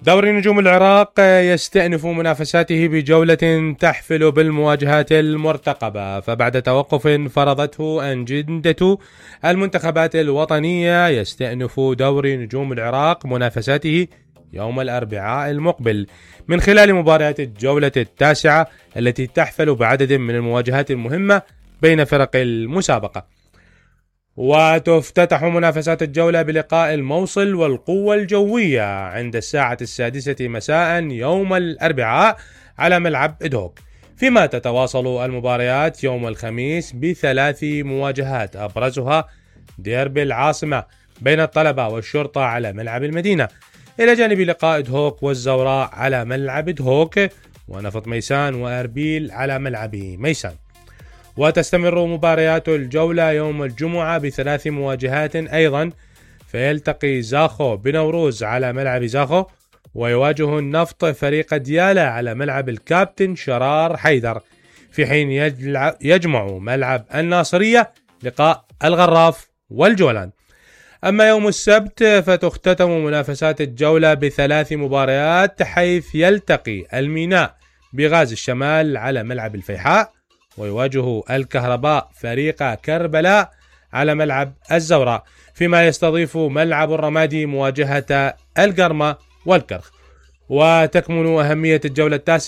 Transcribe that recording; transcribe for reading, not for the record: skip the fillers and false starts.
دوري نجوم العراق يستأنف منافساته بجولة تحفل بالمواجهات المرتقبة، فبعد توقف فرضته أجندة المنتخبات الوطنية يستأنف دوري نجوم العراق منافساته يوم الأربعاء المقبل من خلال مباريات الجولة التاسعة التي تحفل بعدد من المواجهات المهمة بين فرق المسابقة. وتفتتح منافسات الجولة بلقاء الموصل والقوة الجوية عند الساعة 6 مساء يوم الأربعاء على ملعب إدهوك، فيما تتواصل المباريات يوم الخميس ب3 مواجهات أبرزها ديربي العاصمة بين الطلبة والشرطة على ملعب المدينة، إلى جانب لقاء إدهوك والزوراء على ملعب إدهوك، ونفط ميسان وأربيل على ملعب ميسان. وتستمر مباريات الجولة يوم الجمعة ب3 مواجهات أيضا، فيلتقي زاخو بنوروز على ملعب زاخو، ويواجه النفط فريق ديالى على ملعب الكابتن شرار حيدر، في حين يجمع ملعب الناصرية لقاء الغراف والجولان. أما يوم السبت فتختتم منافسات الجولة ب3 مباريات، حيث يلتقي الميناء بغاز الشمال على ملعب الفيحاء، ويواجه الكهرباء فريق كربلاء على ملعب الزوراء، فيما يستضيف ملعب الرمادي مواجهة القرمة والكرخ. وتكمن أهمية الجولة التاسعة